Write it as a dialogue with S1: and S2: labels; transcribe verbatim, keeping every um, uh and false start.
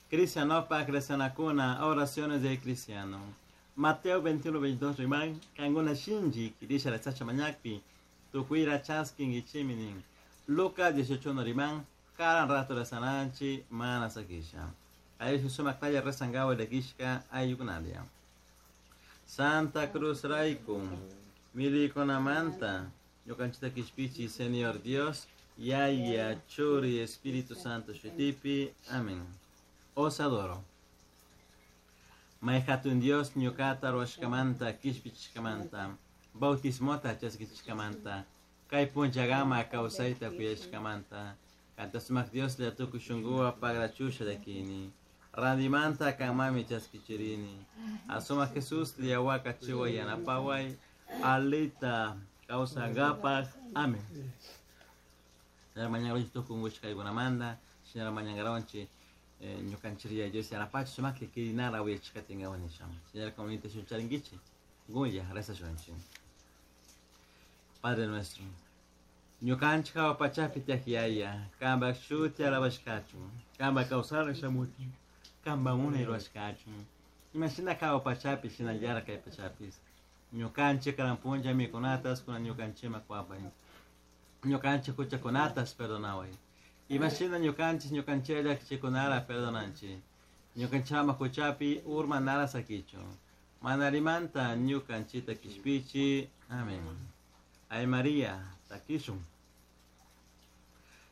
S1: Cristianopak rezanakuna, oraciones del cristiano. Mateo veintiuno veintidós riman, kankuna shinchi kirisha rezasha mañakpi, tukuira chaskinkichimi nin. Lucas dieciocho uno riman, karan rato rezananchi, mana sakisha. Ay sumak talla rezangawa lekishka ayukunalia. Santa Cruz Raiku, milikunamanta, ñukanchita kishpichi, Señor Dios, Yaya, Churi, Espíritu Santo, Shutipi, amén. Os adoro. Mayhatun Dios, ñukata ruwashkamanta, kishpichishkamanta, bautismota chaskichishkamanta, kay punchagama kawsayta kuyashkamanta, kanta sumak Dios la tukuy shunkuwa pagrachusha llakini, randimanta kanmami chaskichirini, asumak Jesús liawaka chiwa yanapaway, alita kawsangapaj, amén. Señora mañana tukungushkaykunamanta, señora mañana ñukanchik Dios yanapachu sumakli kirinara willachikatinkawan nisha. Señora comunita shuncharinkichik, gunya rezashunchik. Padre nuestro, ñukanchik hawa pachapi tiyak yaya, kanpak shuti alabashkachun, kanpak kawsana shamuchun, kanpak munay rurashkachun. Imashina hawa pachapi shinallara kay pachapis. Ñukanchik karan punlla mikunatas kunan ñukanchikman kuwapay. Ñukanchik huchakunatas perdonaway. Imashina ñukanchik ñukanchik llakichikunara perdonanchik. Ñukanchikman huchapi urmanara sakichun. Manarimanta ñukanchikta kishpichi. Amén. Ay María, takishun.